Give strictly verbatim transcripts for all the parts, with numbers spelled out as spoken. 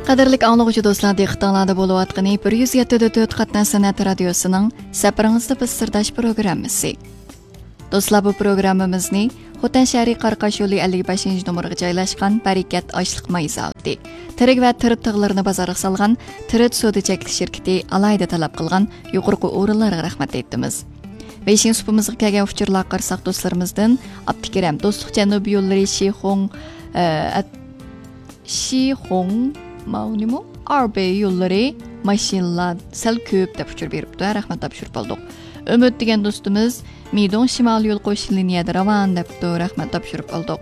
قەدىرلىك ئاڭلىغۇچى دوستلار، دىققىتىڭلاردا بولۇۋاتقىنى بىر يۈز يەتتە دۆت قاتناش سەنئەت رادىيوسىنىڭ سەپىرىڭىزدە بىز سىرداش پروگراممىسى. دوستلار، بۇ پروگراممىمىزنى خوتەن شەھىرى قاراقاش يولى ئەللىك بەشىنچى نومۇرغا جايلاشقان بەرىكەت ئاشلىق ماي زاۋۇتى، تىرىك ۋە تىرىت تىغلىرىنى بازارغا سالغان تىرىت سودا چەكلىك شىركىتى ئالاھىدە تەلەپ قىلغان يۇقىرىقى ئورۇنلارغا رەھمەت ئېيتىمىز. بېيجىڭ سۇپىمىزغا كەلگەن ئۇچۇرلارغا قارىساق، دوستلىرىمىزدىن ئابدۇكېرەم، دوستلۇق جەنۇبىي يوللىرى شىخۇڭ، ئە، ئەت-، شىخۇڭ، ماۋنىمۇ ئاربېي يوللىرى ماشىنىلار سەل كۆپ دەپ ئۇچۇر بېرىپتۇ. رەھمەت تاپشۇرۇپ ئالدۇق. ئۈمىد دېگەن دوستىمىز، مىدوڭ شىمالىي يول قوش لىنىيەدە راۋان دەپتۇ. رەھمەت تاپشۇرۇپ ئالدۇق.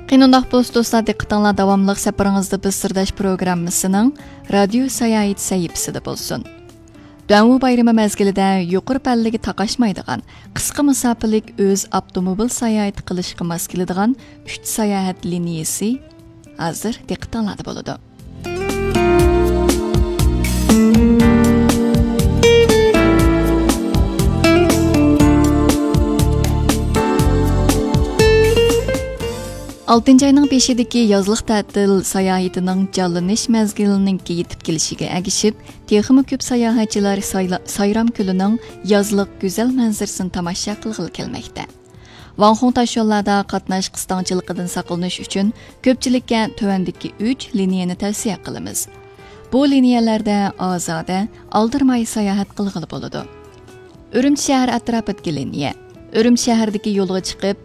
قېنى ئۇنداق بولسا دوستلار، دىققىتىڭلار داۋاملىق سەپىرىڭىزدە بىز سىرداش پروگراممىسىنىڭ رادىيو ساياھىتى سەھىپىسىدە بولسۇن. دۇەنۋۇ بايرىمى مەزگىلىدە يۇقىرى پەللىگە تاقاشمايدىغان، قىسقا مۇساپىلىك ئۆز ئاپتوموبىل ساياھىتى قىلىشقا ماس كېلىدىغان ئۈچ ساياھەت لىنىيىسى ھازىر دىققىتىڭلاردا بولىدۇ. ئالتىنچى ئاينىڭ بېشىدىكى يازلىق تەتىل ساياھىتىنىڭ جانلىنىش مەزگىلىنىڭكى يېتىپ كېلىشىگە ئەگىشىپ، تېخىمۇ كۆپ ساياھەتچىلەر سايلا-، سايرام كۆلىنىڭ يازلىق گۈزەل مەنزىرىسىنى تاماشا قىلغىلى كەلمەكتە. ۋاڭخۇڭ تاشيوللاردا قاتناش قىستاڭچىلىقىدىن ساقلىنىش ئۈچۈن كۆپچىلىككە تۆۋەندىكى ئۈچ لىنىيەنى تەۋسىيە قىلىمىز. بۇ لىنىيەلەردە ئازادە، ئالدىرىماي ساياھەت قىلغىلى بولىدۇ. ئۈرۈمچى شەھەر ئەتراپىدىكى لىنىيە. ئۈرۈمچى شەھىرىدىكى يولغا چىقىپ،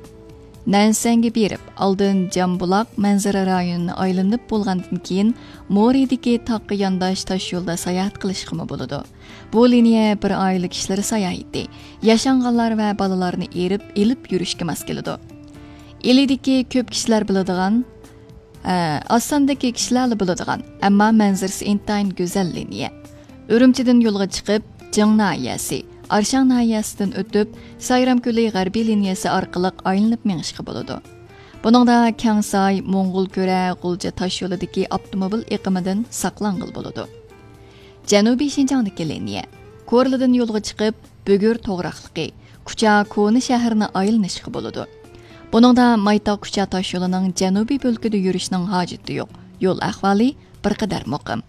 نەنسەنگە بېرىپ، ئالدىن جامبۇلاق مەنزىرە رايونىنى ئايلىنىپ بولغاندىن كېيىن، مورىدىكى تاغقا يانداش تاشيولدا ساياھەت قىلىشقىمۇ بولىدۇ. بۇ لىنىيە بىر ئائىلە كىشىلىرى ساياھىتى، ياشانغانلار ۋە بالىلارنى ئېرىپ ئېلىپ يۈرۈشكە ماس كېلىدۇ. ئىلىدىكى كۆپ كىشىلەر بىلىدىغان، ئە، ئاز ساندىكى كىشىلەرلا بىلىدىغان، ئەمما مەنزىرىسى ئىنتايىن گۈزەل لىنىيە. ئۈرۈمچىدىن يولغا چىقىپ، جىڭ ناھىيەسى، ئارشاڭ ناھىيەسىدىن ئۆتۈپ، سايرام كۆلى غەربىي لىنىيەسى ئارقىلىق ئايلىنىپ مېڭىشقا بولىدۇ. بۇنىڭدا كەڭساي، موڭغۇل كۆرە، غۇلجا تاشيولىدىكى ئاپتوموبىل ئېقىمىدىن ساقلانغىلى بولىدۇ. جەنۇبىي شىنجاڭدىكى لىنىيە. كورلىدىن يولغا چىقىپ، بۈگۈر توغراقلىقى، كۇچا كونا شەھىرىنى ئايلىنىشقا بولىدۇ. بۇنىڭدا مايتاغ كۇچا تاشيولىنىڭ جەنۇبىي بۆلىكىدە يۈرۈشنىڭ ھاجىتى يوق. يول ئەھۋالى بىر قەدەر مۇقىم.